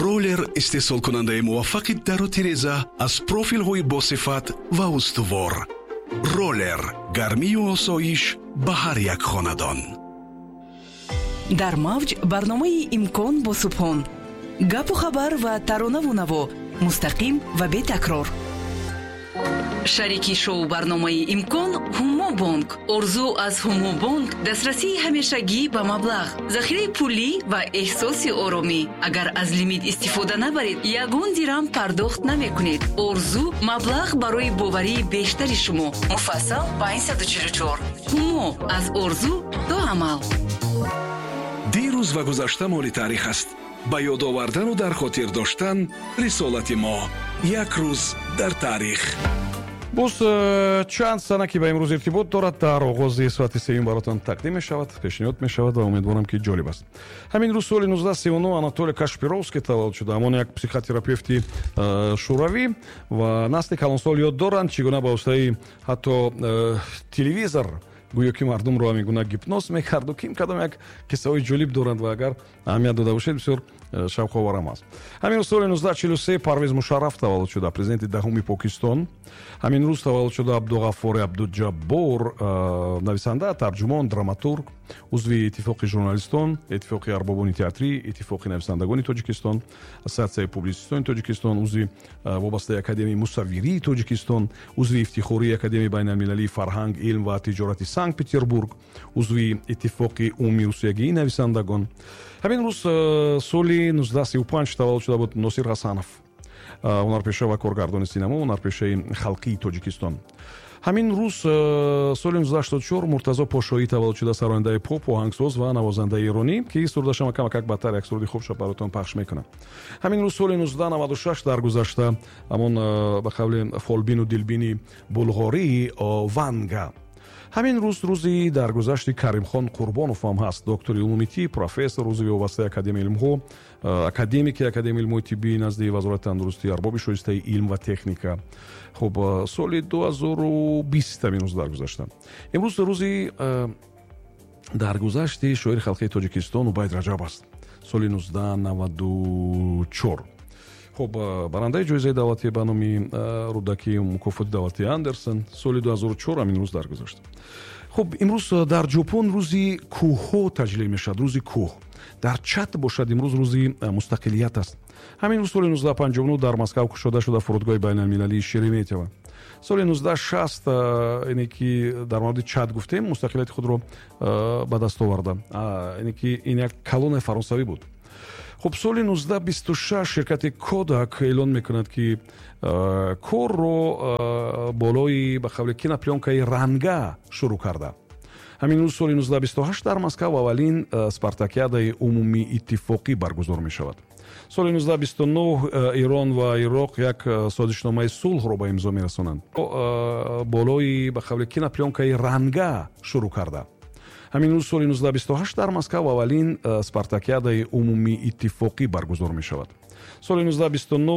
Ролер, истеҳсолкунандаи муваффақи дару тиреза аз профилҳои босифат ва устувор. Ролер, гармию осоиш ба ҳар як хонадон. Дар мавҷ барномаи «Имкон» бо Субҳон. Гапу хабар ва таронаву наво мустақим ва бетакрор. Шарики шоу барномаи «Имкон» «Ҳумо бонк». Орзу аз «Ҳумо бонк» дастрасии ҳамешагӣ ба маблағ, захираи пулӣ ва эҳсоси оромӣ. Агар аз лимит истифода набаред, ягон дирам пардохт намекунед. Орзу, маблағ барои боварии бештари шумо. Муфассал 544. «Ҳумо», аз орзу то амал. Дирӯз ва гузашта моли таърих аст. Ба ёд овардану дар хотир доштан рисолати мо. Як рӯз дар таърих. Боз чанд сана, ки ба имрӯз иртибот дорад, дар оғози соати сеюм баротон тақдим мешавад, пешниҳод мешавад ва умедворам, ки ҷолиб аст. Ҳамин рӯз, соли 1939, Анатолий Кашпировский таваллуд шуда, ҳамон як психотерапевти шӯравӣ, ва насли калонсол ёд доранд, чӣ гуна ба воситаи ҳатто телевизор гӯё ки мардумро ҳамин гуна гипноз мекарду, ким кадом як қиссаҳои ҷолиб доранд ва агар аҳамият дода бошед, бисёр шавқоварам аст. Ҳамин рӯз, соли 1943, Парвез Мушарраф таваллуд шуда, президенти даҳуми Покистон. Ҳамин рӯз таваллуд шуда Абдуғаффори Абдуҷаббор, нависанда, тарҷумон, драматург, узви Иттифоқи журналистон, Иттифоқи арбобони театрӣ, Иттифоқи нависандагони Тоҷикистон, Ассотсиатсияи публитсистони Тоҷикистон, узви вобастаи Академияи мусаввирии Тоҷикистон, узви ифтихории Академияи байналмилалии фарҳанг, илм ва тиҷорати Санкт Петербург, узви Иттифоқи умумирусиягии нависандагон. Ҳамин рӯз, соли 1935, таваллуд шуда буд Носир Ҳасанов, ҳунарпеша ва коргардони синамо, ҳунарпешаи халқии Тоҷикистон. Ҳамин рӯз, соли 1984, Муртазо Пошоӣ таваллуд шуда, сарояндаи поп, оҳангсоз ва навозандаи эронӣ, ки сурудашама камакак бадтар, як суруди хуб баротон пахш мекунам. Ҳамин рӯз, соли 1996, даргузашта ҳамон ба қавли фолбину дилбини булғории Ванга. Ҳамин рӯз рӯзи даргузашти Каримхон Қурбонов ҳам ҳаст, доктори улуми тиб, профессор, узви вобастаи Академияи илмҳо, академики Академияи илмҳои тиббии назди Вазорати тандурустӣ, арбоби шоистаи илм ва техника. Хуб, соли 2020 ҳамин рӯз даргузашта. Имрӯз рӯзи даргузашти шоири халқии Тоҷикистон Убайд Раҷаб аст, соли 1994. Хуб, барандаи ҷоизаи давлатӣ ба номи Рӯдакӣ, мукофоти давлатии Андерсон, соли 2004 ҳамин рӯз даргузашт. Хуб, имрӯз дар Ҷопон рӯзи кӯҳҳо таҷлил мешавад, рӯзи кӯҳ. Дар Чад бошад, имрӯз рӯзи мустақилият аст. Ҳамин рӯз, соли 1959, дар Москав кушода шуда фурудгоҳи байналмилалии Шереметьево. Соли 1960, ине ки дар мавриди Чад гуфтем, мустақилияти худро ба даст оварда, ине ки ин як колонияи фаронсавӣ буд. Хуб, соли 1926 ширкати Кодак эълон мекунад, ки корро болои, ба қавли, киноплёнкаи ранга шурӯъ карда. Ҳамин рӯз, соли 1928, дар Москав аввалин спартакиадаи умумииттифоқӣ баргузор мешавад. Соли 1929 Эрон ва Ироқ як созишномаи сулҳро ба имзо мерасонанд. Болои, ба қавли, киноплёнкаи ранга шурӯъ карда. Ҳамин рӯз, соли 1928, дар Москав аввалин спартакиадаи умумииттифоқӣ баргузор мешавад. Соли 1929.